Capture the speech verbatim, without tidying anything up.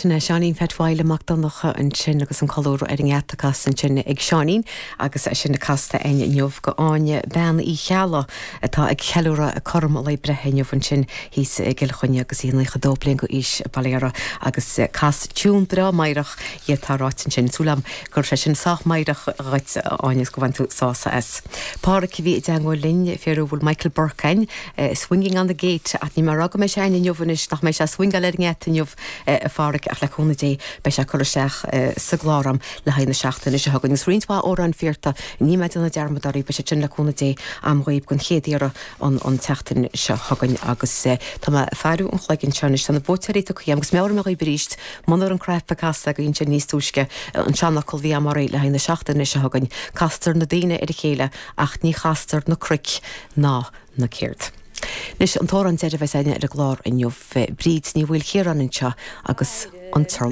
Sin é Seáinín Pheait Mhaidhc Mac Donncha ansin agus an colúr ar an ngeata casta ansin ag Seáinín agus é sin casta againn inniu do Áine Bean Uí Cheallaigh atá ag ceiliúradh cothrom a lae breithe inniu ansin thíos i gCill Chainnigh agus í nócha dó bliain d'aois bail agus cas tiún breá meidhreach di atá ráite ansin súil agam gur sé sin sách meidhreach dhuit Áine go bhfuil tú sásta as. Pádraic bhí i dteagmháil linn féar bhfuil Michael Burke swinging on the gate ach ní mar go mé sé inniu nach mé sé swingáil ar an ngeata inniu a Phádraic ach le cúnamh Dé beidh sé curtha isteach sa gclár agam le haghaidh na seachtaine seo chugainn. Is roinnt mhaith amhrán fiarta ní mé na dearmadarí be sé sin le cúnamh Dé agam dhaoibh don chéad iarraidh an an tseachtain seo chugainn agus tá mé faire an chloigeann seo tá na buaiteoirí tugtha agus meabhraím dhaoibh arís munar an cnaipe casta go sin níos túisce an seanfhocal bhí amarí le haghaidh na seachtaine seo chugainn castar na daoine ar a chéile ach ní chastar na cnoic ná na céard. Anois an t-amhrán deiridh a bheas againne ar an gclár inniu Bríd Ní Mhaoilchiaráin anseo agus an t